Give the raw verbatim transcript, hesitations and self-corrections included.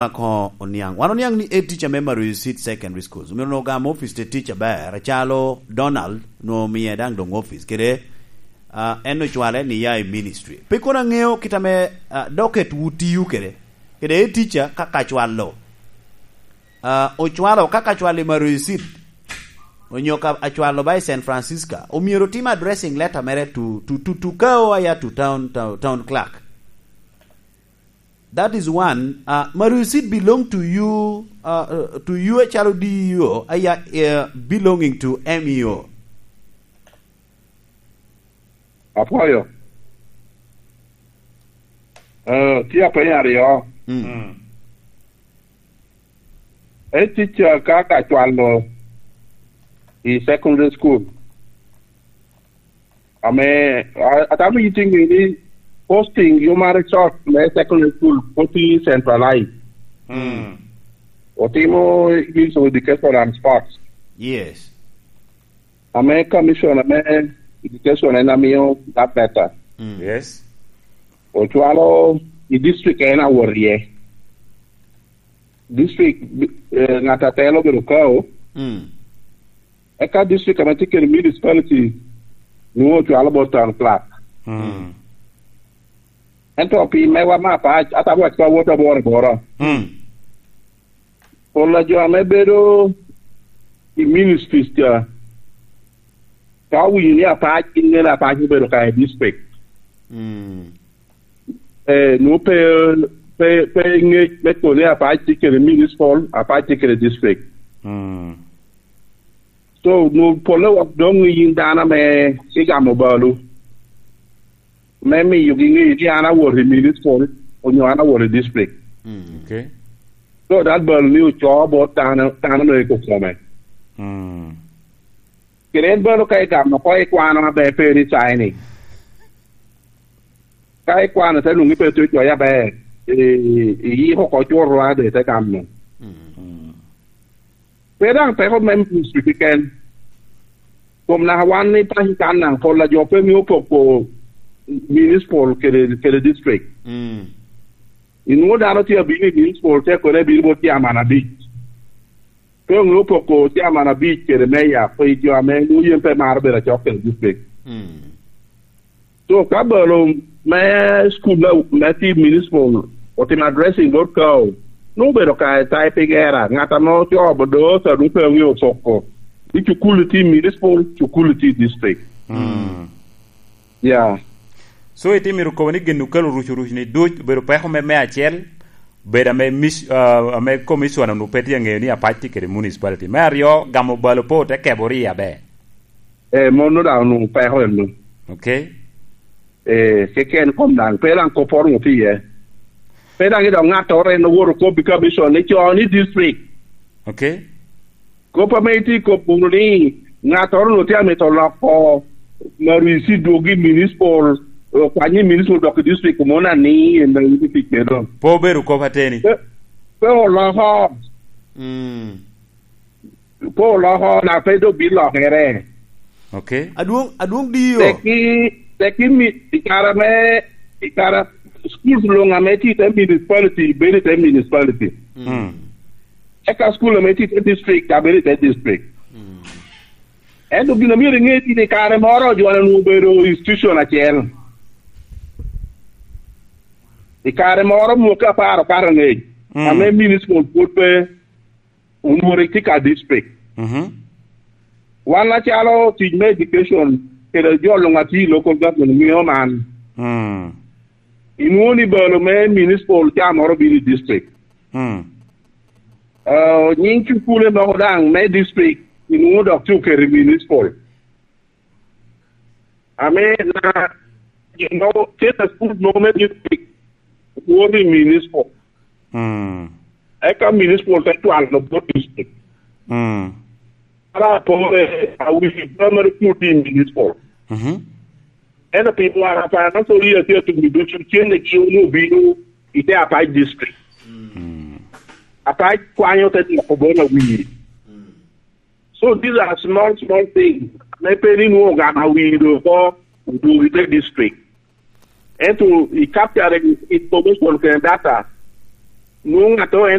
Ako oniaŋ. Wan oniaŋ ni head teacher me Maruyu Seed Secondary Schools omyero onwoŋo ogam office te tic aber, acalo Donald onwoŋo omiye daŋ doŋ office kede, ah, en ocwale ni ya i ministry. Pe kono aŋeo kit ame, ah, docket wu tiyo kede, kede head teacher ka kacwalo. Ah, ocwalo ka kacwalo i Maruyu Seed, onyo ka acwalo ba i San Francisco, omyero otim addressing letter mere to, to, to, to K O aya to town, town, town clerk. That is one. Uh, Maruyu Seed belong to you, uh, uh, to you acalo D E O, aya, uh, belonging to M E O. Apwoyo. Uh, tye apenyo aryo. Mm. Mm. E tic, uh, ka ka cwalo i secondary school. Ame, a-, atamo yiti ŋe ni posting human resource me secondary school pwod tye centralized. Mm. Otimo Ministry of Education and Sports. Yes. Ame commission ame education en amiyo that better. Mm. Yes. Ocwalo i district en awot iye. District, eh, ŋat atelo obedo K O. Mm. Eka district ame tye kede municipality nwoŋo ocwalo bot town clerk. Mm. Ento pi mewa me apac, atamo wac pa wot aboro aboro. Mm. Pol a jo ame bedo i ministries ca, ka owinyo ni apac, gin ŋene apac obedo ka i district. Mm. Eh, nwoŋo pe, pe, pe ŋec me kono ni apac tye kede municipal, apac tye kede district. Mm. So, nwoŋo polle wok doŋ yin dano ame igamo balu, me miyogi ŋeyo ni an awot i municipal, onyo an awot i district. Mm. Okay. So, that balu ni ocoo bot dano, dano me iko kome. Mm. Kede en bene ka igamo oko ikwano aber pe ni signing. Ka ikwano te nwoŋo ipe tye coc aber, i, i, iyiko oko cwot rwade te gamo. Mm. Pe daŋ peko me ministry keken. Kom naka wan i paco kan daŋ pol a jo pe ŋeo poko municipal kede, kede district. Mm. Inwoŋo dano tye abino i municipal te kone bino bot tye aman abic. Pe oŋeo poko tye aman abic kede meya, pe jo ame nwoŋo yen pe maro bedo acok kede district. Mm. So, ka balo me school me, me tye municipal otimo addressing bot K O, nwoŋo obedo ka typing error. Ŋat ame ocoo bodosa nwoŋo pe oŋeo poko ni cukul tye municipal, cukul tye district. Mm. Yeah. So, itye mito kobo ni gin okelo ruc oruc ni duc obedo peko me, me acel, bedo ame mis-, ah, ame commissioner onwoŋo pe tye aŋeyo ni apac tye kede municipality. Me aryo, gamo balo pe ote keboro iye aber. Eh, mono daŋ onwoŋo peko eno. Okay. Eh, keken kom daŋ, pe daŋ kopporo onwoŋo tye iye. Pe daŋ idok ŋattoro en owoto kobbi commission ni co ni district. Okay. Kop ame itye kop wunu ni ŋattoro onwoŋo tye amito loko Maruyu Seed dwogo i municipal, okwany i municipal dok i district, mono ani en daŋ itye tic kede. Pe obedo kop ateni. Pe, pe oloko. Mm. Pe oloko, na pe dok bilokere. Okay. Adwoŋ, adwoŋ D E O. Teki, teki mi, i kare me, i kare, schools luŋ ame tye i te municipality, bedo i te municipality. Mm. Eka school ame tye i te district, a bedo i te district. Mm. Ento gin a myero iŋe ni i kare moro jo onwoŋo obedo institution acel. I kare moro mwaka apar okato angec, mm, ame municipal pwod pe, onwoŋo rik tye ka district. Mhm. Wan acalo tic me education, kede jo luŋ a tye i local government ŋeo man. Mm. Inwoŋo ni balo me municipal ca moro bino i district. Mm. Ah, nyiŋ cukule mogo daŋ me district, inwoŋo dok tye oketo i municipal. Ame na, you know, tye ka school mogo me district, woto i municipal. Mm. Eka municipal te cwalo bot district. Mm. Ara apore, awi primary school tye i municipal. Mhm. Ento pi wara pa Nasori atye atum i ducu cen ne ki onwoŋo obino i te Apac district. Mm. Apac kwanyo te dwoko bot awi. So these are small, small things. Me pe ni nwoŋo ogamo awi do oko, odwogo i te district. Ento i capturing information kede data, Nwoŋo ŋattoro